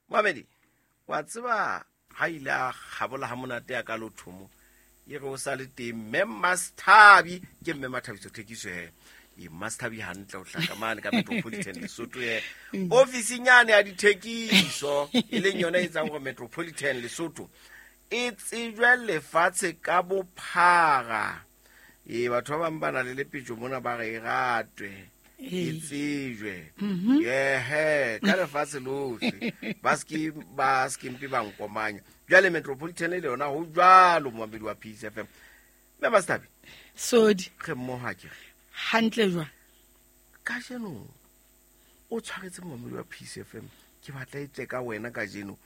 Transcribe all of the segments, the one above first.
Mamedi, wa tseba ha ile a kgabola ha monate ya ka lothomo e re o sa le teng mme Masthabi, ke mme Mathabiso Thekiso he. E Masthabi hantle o hlaka mane ka Metropolitan Lesotho he. Ofising yane ya dithekiso e leng yona e etsang gore Metropolitan Lesotho e tsejwe lefatshe ka bophara. Ee, batho ba bang ba na le lepetjo mona ba re e ratwe e tsejwe ehe ka lefatshe lohle, ba sekempe ba nkomanya. Jwale Metropolitan le yona ho jwalo, momamedi wa Peace FM. Mme Mastabi, Sodi. Re mmoho akere? Hantle jwang? Kajeno o tshwaretse momamedi wa Peace FM, ke batla e tle ka wena kajeno,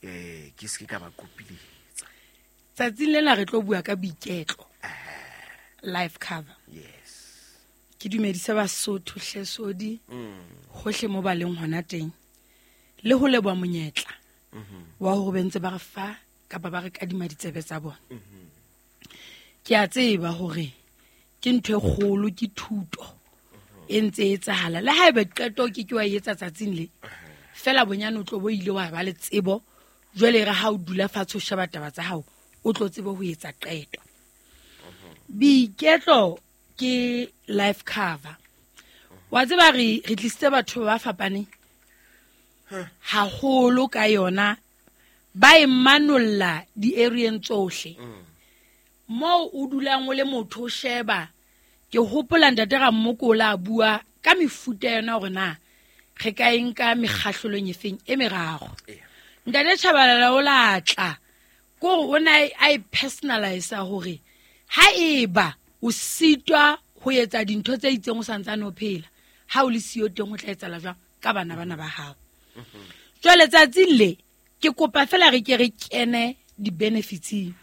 ke seke ka ba kopiletsa. Tsatsing lena re tlo bua ka boiketlo, life cover. Yes. Ke dumedise Basotho hle Sodi, hohle mo ba leng hona teng, le ho leboha monyetla wa hore be ntse ba re fa kapa ba re kadima ditsebe tsa bona. Ke a tseba hore ke ntho e kgolo, ke thuto e ntse e etsahala. Le haeba qeto ke ke wa e etsa tsatsing le, fela bonyane o tlo bo ile wa ba le tsebo. Jwale re ha o dula fatshe o sheba taba tsa hao, o tlo tsebe ho etsa qeto. Boiketlo ke life cover. Wa tseba re tlisitse batho ba fapaneng haholo ka yona, ba e manolla di-areeng tsohle. Moo o dulang o le motho o sheba, ke hopola ntate Rammokola a bua ka mefuta yona hore na re ka e nka mekgahlelong efeng e meraro. Ntate Tshabalala o la tla kore o ne a e personalize hore ha eba o sitwa ho etsa dintho tse itseng o santsane o phela, ha o le siyo teng ho tla etsahala jwang ka bana bana ba hao. Jwale tsatsing le ke kopa fela re ke re kene di-benefitseng.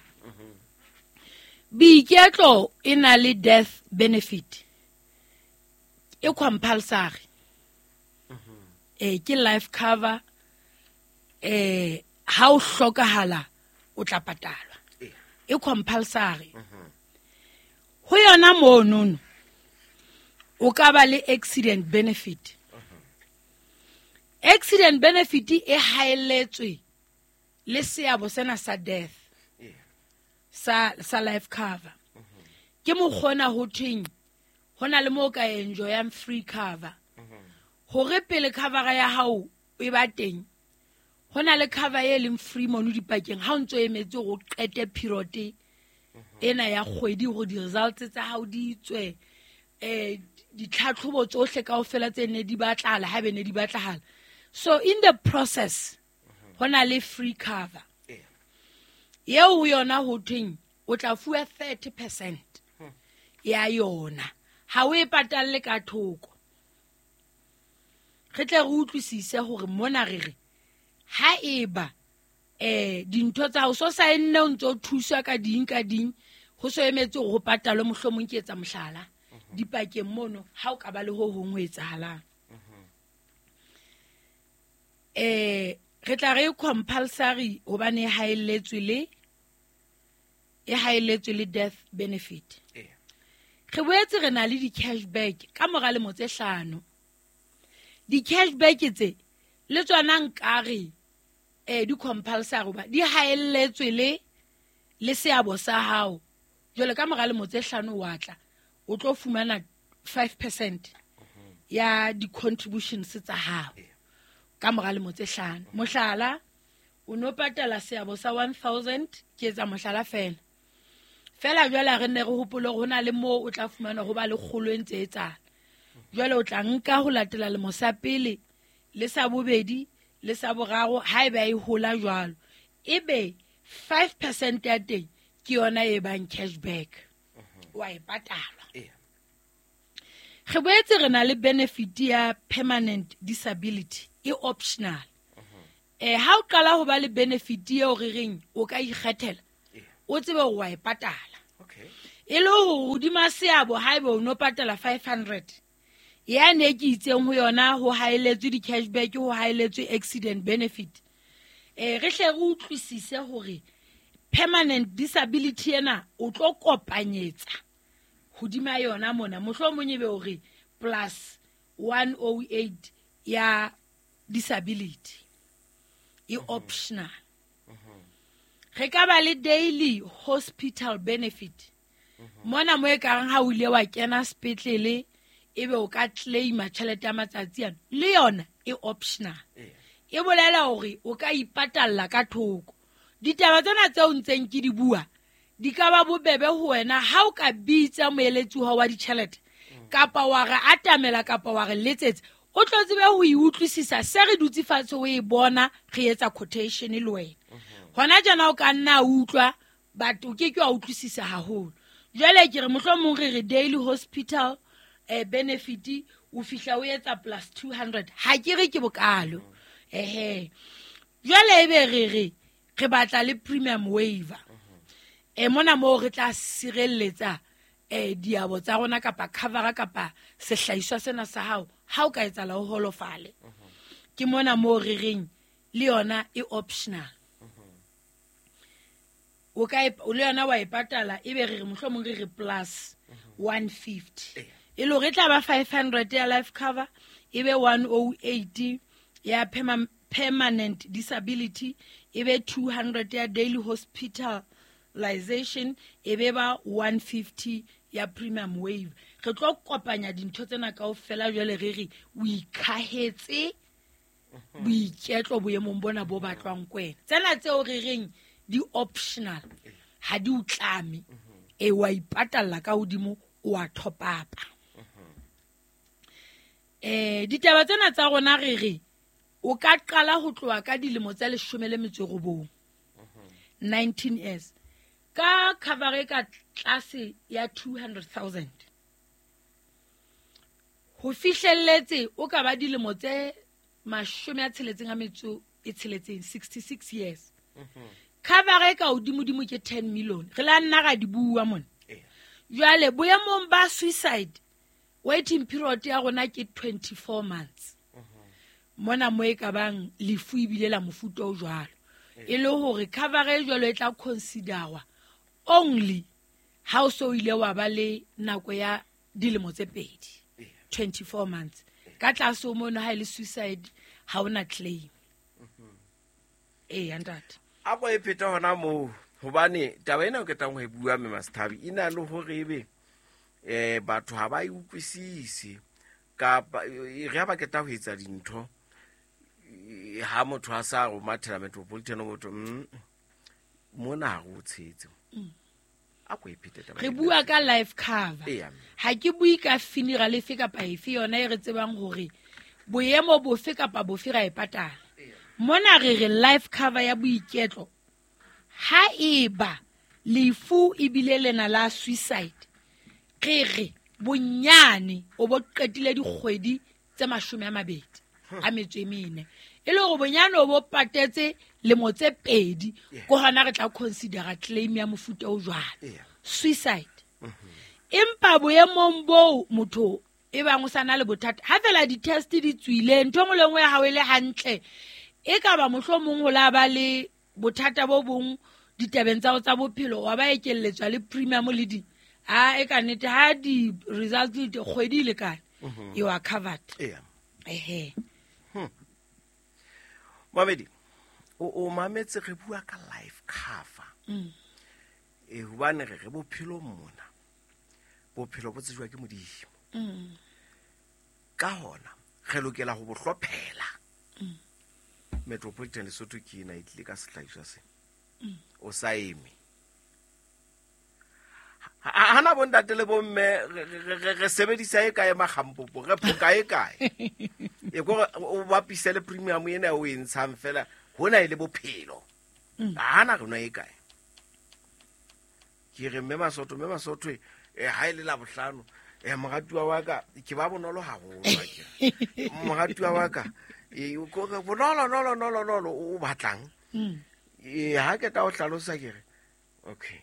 Boiketlo e na le death benefit e compulsory. Ke life cover, ha o hlokahala o tla patalwa, e compulsory. Ho yona monono o ka ba le accident benefit. Accident benefit e haelletswe le seabo sena sa death sa life cover. Ke mokgona ho thweng ho na le moo ka enjoyang free cover. Hore pele cover ya hao e ba teng, ho na le cover e leng free mono dipakeng ha o ntso emetse hore o qete period ena ya kgwedi hore di-results tsa hao di tswe, ditlhatlhobo tsohle kaofela tse ne di batlahala ha be ne di batlahala. So in the process ho na le free cover eo ho yona ho thweng o tla fuwa 30% ya yona, ha o e patalle ka thoko. Re tle re utlwisise hore mona re re ha eba dintho tsa hao so saenne o ntso thuswa ka ding ka ding, ho so emetse hore ho patalwe, mohlomong ke etsa mohlala dipakeng mono ha o ka ba le ho hong ho etsahalang. Re tla re compulsory hobane e haelletswe le, e haelletswe le death benefit. Re boetse re na le di-cashback ka mora lemo tse hlano. Di-cashback tse le tsona nkare di compulsory hoba di haelletswe le seabo sa hao. Jwale ka mora lemo tse hlano wa tla o tlo fumana 5% ya di-contributions tsa hao ka mora lemo tse hlano. Mohlala, o no patala seabo sa 1000, ke etsa mohlala fela. Fela jwale re ne re hopole hore ho na le moo o tla fumana ho ba le kgolo e ntse e etsahala. Jwale o tla nka ho latela lemo sa pele le sa bobedi le sa boraro, haeba e hola jwalo, ebe 5% ya teng ke yona e bang cashback, wa e patala. Re boetse re na le benefit ya permanent disability e optional. Ha o qala ho ba le benefit eo re reng o ka ikgethela, o tsebe hore wa e patala. E le hore hodima seabo haeba o no patala 500, ya ne ke itseng ho yona ho haeletswe di-cashback, ho haeletswe accident benefit. Re hle re utlwisise hore permanent disability ena o tlo kopanyetsa hodima yona mona, mohlomong ebe hore plus 108 ya disability. E optional. Re ka ba le daily hospital benefit. Mona mo e kareng ha o ile wa kena sepetlele ebe o ka claima tjhelete ya matsatsi ano, le yona e optional. E bolela hore o ka ipatalla ka thoko. Ditaba tsena tseo ntseng ke di bua di ka ba bobebe ho wena ha o ka bitsa moeletsi wa ditjhelete kapa wa re atamela kapa wa re letsetsa, o tlo tsebe ho e utlwisisa se re dutse fatshe o e bona re etsa quotation le wena. Hona jana o ka nna utlwa but o ke ke wa utlwisisa haholo. Jwale ke re mohlomong re re daily hospital benefit o fihla o etsa plus 200, ha ke re ke bokalo. Ehe, jwale ebe re re re batla le premium waiver. Mona moo re tla sireletsa diabo tsa rona kapa covera kapa sehlahiswa sena sa hao ha o ka etsahala o holofale. Ke mona moo re reng le yona e optional. O ka le yona wa e patala ebe re re mohlomong re re plus 150. E le hore e tla ba 500 ya life cover, ebe 108 ya permanent disability, ebe 200 ya daily hospitalization, ebe ba 150 ya premium waiver. Re tlo kopanya dintho tsena kaofela jwale re re o ikhahetse boiketlo boemong bona bo batlwang ko wena. Tsena tseo re reng di optional ha di o tlame, e wa ipatalla ka hodimo, o a top up. Ditaba tsena tsa rona re re o ka qala ho tloha ka dilemo tsa 19, 19 years, ka cover e ka tlase ya 200,000 ho fihlelletse o ka ba dilemo tse 66, 66 years. Cover e ka hodimodimo ke 10 million. Re la nna ra di bua mona. Jwale boemong ba suicide waiting period ya rona ke 24 months. Mona mo e ka bang lefu ebile la mofuta o jwalo. E le hore cover e jwalo e tla considerwa only ha o so ile wa ba le nako ya dilemo tse pedi, 24 months. Ka tlase ho mono ha e le suicide ha ona claim. Ntate. A ko e pheta hona moo hobane taba ena o ketang ho e bua mme Masthabi e na le hore ebe batho ha ba e utlwisise kapa re ha ba keta ho etsa dintho ha motho a sa ro mathela Metropolitan motho mona ha o tshetse. A ko e phete taba. Re bua ka life cover. Ha ke bue ka funeral efe kapa efe yona e re tsebang hore boemo bofe kapa bofe ra e patala. Mona re re life cover ya boiketlo ha eba lefu ebile lena la suicide, re re bonyane o bo qetile dikgwedi tse 24, e le hore bonyane o bo patetse lemo tse pedi, ko hona re tla considera claim ya mofuta o jwalo, suicide. Empa boemong boo motho e bang o sa na le bothata ha fela di-test di tswile, ntho e nngwe le nngwe ya hao e le hantle, e ka ba mohlomong ho la ba le bothata bo bong ditabeng tsa tsa bophelo, wa ba ekelletswa le premium le di ha e ka nnete ha di-results di kgwedi e lekane, you are covered. Ehe. Mamedi, o mametse re bua ka life cover. Hobane re re bophelo mona, bophelo bo tsejwa ke Modimo. Ka hona re lokela ho bo hlophela. Metropolitan Lesotho ke ena e tlile ka sehlahiswa se. O sa eme. Hana bontate le bomme re sebedisa e kae makgampopo, re phoka e kae. E kore o bapise le premium ena o e ntshang fela hona e le bophelo. Hana rona e kae. Ke re mme Masotho ha e le la bohlano, moratuwa wa ka ke ba bonolo haholo ke. Moratuwa wa ka bonolo nolo nolo nolo o batlang. Ha ke tla o hlalosa ke re okay.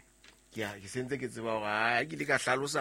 Ke sentse ke tseba hore ha ke le ka hlalosa